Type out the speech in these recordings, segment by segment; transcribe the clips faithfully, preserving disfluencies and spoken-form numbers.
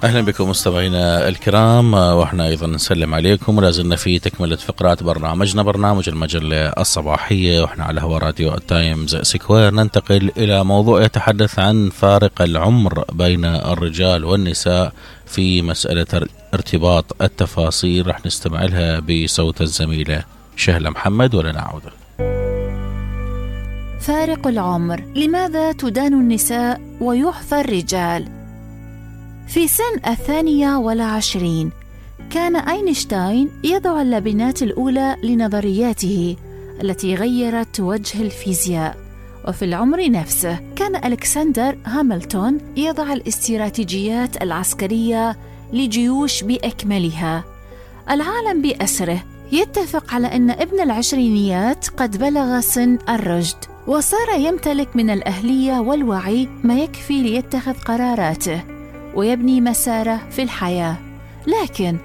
أهلا بكم مستمعينا الكرام، وإحنا أيضا نسلم عليكم، ولازلنا في تكملة فقرات برنامجنا برنامج المجلة الصباحية، وإحنا على هوا راديو التايمز سكوير. ننتقل إلى موضوع يتحدث عن فارق العمر بين الرجال والنساء في مسألة ارتباط التفاصيل. رح نستمع لها بصوت الزميلة شهلة محمد ولنعود. فارق العمر، لماذا تدان النساء ويحفى الرجال؟ في سن الثانية والعشرين كان أينشتاين يضع اللبنات الأولى لنظرياته التي غيرت وجه الفيزياء. وفي العمر نفسه كان ألكسندر هاملتون يضع الاستراتيجيات العسكرية لجيوش بأكملها. العالم بأسره يتفق على أن ابن العشرينيات قد بلغ سن الرشد، وصار يمتلك من الأهلية والوعي ما يكفي ليتخذ قراراته ويبني مساره في الحياة. لكن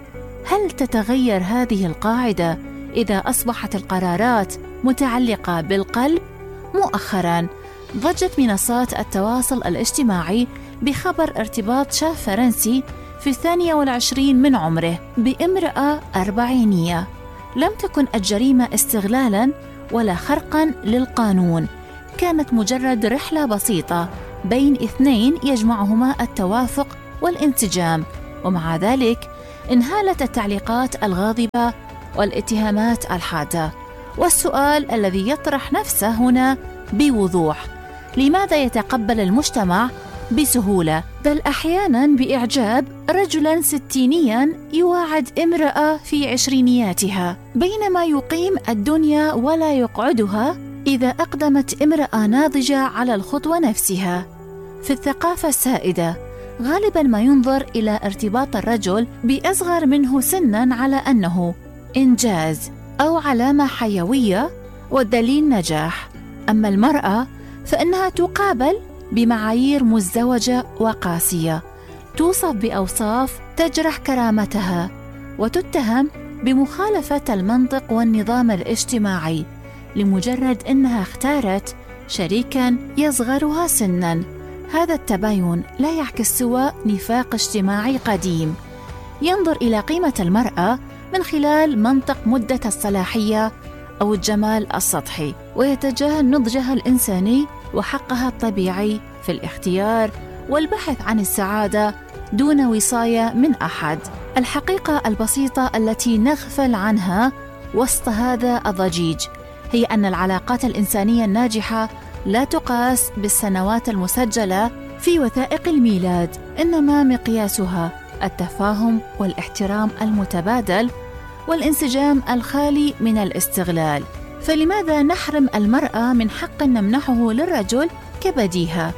هل تتغير هذه القاعدة إذا أصبحت القرارات متعلقة بالقلب؟ مؤخراً ضجت منصات التواصل الاجتماعي بخبر ارتباط شاب فرنسي في الثانية والعشرين من عمره بامرأة أربعينية. لم تكن الجريمة استغلالاً ولا خرقاً للقانون، كانت مجرد رحلة بسيطة بين اثنين يجمعهما التوافق والانسجام. ومع ذلك انهالت التعليقات الغاضبة والاتهامات الحادة. والسؤال الذي يطرح نفسه هنا بوضوح: لماذا يتقبل المجتمع بسهولة بل أحياناً بإعجاب رجلاً ستينياً يواعد امرأة في عشرينياتها، بينما يقيم الدنيا ولا يقعدها إذا أقدمت امرأة ناضجة على الخطوة نفسها؟ في الثقافة السائدة غالباً ما ينظر إلى ارتباط الرجل بأصغر منه سناً على أنه إنجاز أو علامة حيوية والدليل نجاح. أما المرأة فإنها تقابل بمعايير مزدوجة وقاسية، توصف بأوصاف تجرح كرامتها، وتتهم بمخالفة المنطق والنظام الاجتماعي لمجرد أنها اختارت شريكاً يصغرها سناً. هذا التباين لا يعكس سوى نفاق اجتماعي قديم ينظر إلى قيمة المرأة من خلال منطق مدة الصلاحية أو الجمال السطحي، ويتجاهل نضجها الإنساني وحقها الطبيعي في الاختيار والبحث عن السعادة دون وصاية من أحد. الحقيقة البسيطة التي نغفل عنها وسط هذا الضجيج هي أن العلاقات الإنسانية الناجحة لا تقاس بالسنوات المسجلة في وثائق الميلاد، إنما مقياسها التفاهم والاحترام المتبادل والانسجام الخالي من الاستغلال. فلماذا نحرم المرأة من حق نمنحه للرجل كبديهة؟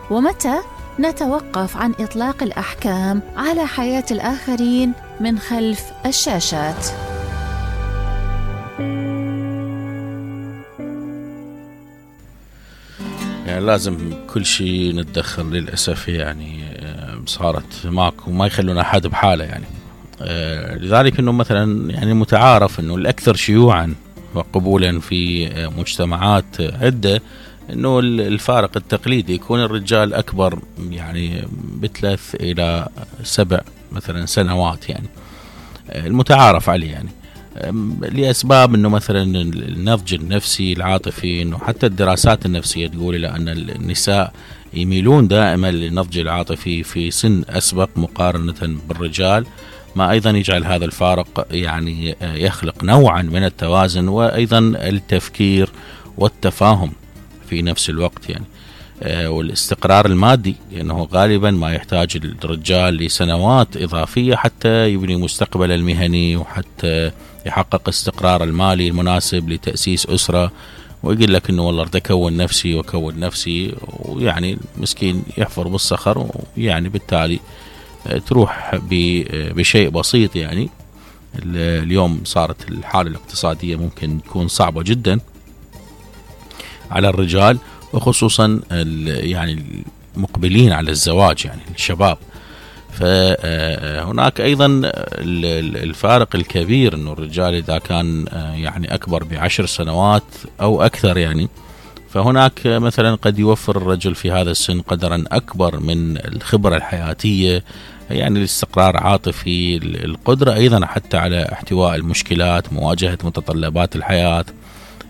ومتى نتوقف عن إطلاق الأحكام على حياة الآخرين من خلف الشاشات؟ يعني لازم كل شيء نتدخل للأسف، يعني صارت ماكو ما يخلون أحد بحاله يعني. لذلك أنه مثلا يعني متعارف أنه الأكثر شيوعا وقبولا في مجتمعات عدة أنه الفارق التقليدي يكون الرجال أكبر يعني بثلاث إلى سبع مثلا سنوات، يعني المتعارف عليه يعني لأسباب أنه مثلا النضج النفسي العاطفي، أنه حتى الدراسات النفسية تقول إلى أن النساء يميلون دائما للنضج العاطفي في سن أسبق مقارنة بالرجال، ما أيضا يجعل هذا الفارق يعني يخلق نوعا من التوازن وأيضا التفكير والتفاهم في نفس الوقت يعني. والاستقرار المادي لأنه يعني غالبا ما يحتاج الرجال لسنوات إضافية حتى يبني مستقبل المهني وحتى يحقق استقرار المالي المناسب لتأسيس أسرة، ويقول لك إنه والله تكون نفسي وكون نفسي، ويعني مسكين يحفر بالصخر، ويعني بالتالي تروح بشيء بسيط. يعني اليوم صارت الحالة الاقتصادية ممكن تكون صعبة جدا على الرجال، وخصوصا يعني المقبلين على الزواج يعني الشباب. فهناك أيضا الفارق الكبير أنه الرجال إذا كان يعني أكبر بعشر سنوات أو أكثر يعني، فهناك مثلا قد يوفر الرجل في هذا السن قدرا أكبر من الخبرة الحياتية يعني الاستقرار عاطفي، القدرة أيضا حتى على احتواء المشكلات، مواجهة متطلبات الحياة.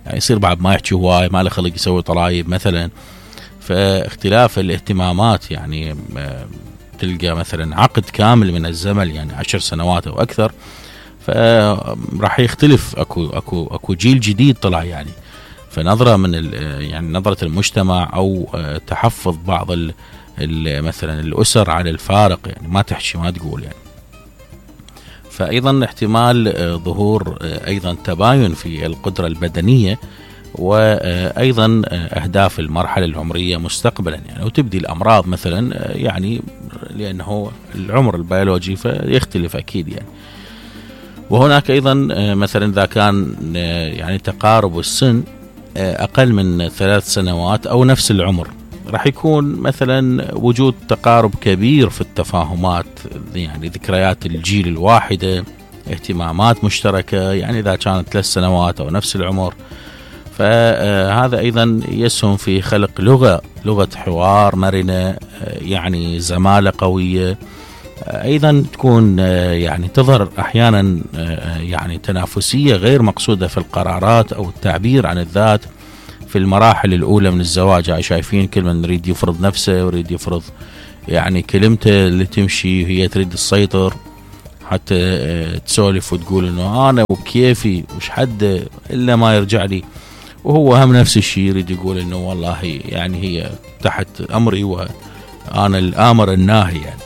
يعني يصير بعد ما يحكي هواي، ما له خلق يسوي طلايب مثلا. فاختلاف الاهتمامات، يعني تلقى مثلا عقد كامل من الزمن يعني عشر سنوات أو أكثر، فراح يختلف. أكو أكو أكو جيل جديد طلع يعني، فنظرة من يعني نظرة المجتمع أو تحفظ بعض ال مثلا الأسر على الفارق، يعني ما تحكي ما تقول يعني. فأيضا احتمال ظهور أيضا تباين في القدرة البدنية، وأيضا أهداف المرحلة العمرية مستقبلا يعني، وتبدي الأمراض مثلا يعني لأنه العمر البيولوجي فيختلف أكيد يعني. وهناك أيضا مثلا إذا كان يعني تقارب السن أقل من ثلاث سنوات أو نفس العمر، راح يكون مثلا وجود تقارب كبير في التفاهمات، يعني ذكريات الجيل الواحدة، اهتمامات مشتركة. يعني إذا كانت ثلاث سنوات أو نفس العمر، فهذا أيضا يسهم في خلق لغة لغة حوار مرنة، يعني زمالة قوية. أيضا تكون يعني تظهر أحيانا يعني تنافسية غير مقصودة في القرارات أو التعبير عن الذات في المراحل الأولى من الزواج. يعني شايفين كل من يريد يفرض نفسه ويريد يفرض يعني كلمته اللي تمشي، هي تريد تسيطر حتى تسولف وتقول إنه أنا وكيفي وش حد إلا ما يرجع لي، وهو هم نفس الشيء يريد يقول إنه والله يعني هي تحت أمري وأنا الآمر الناهي يعني.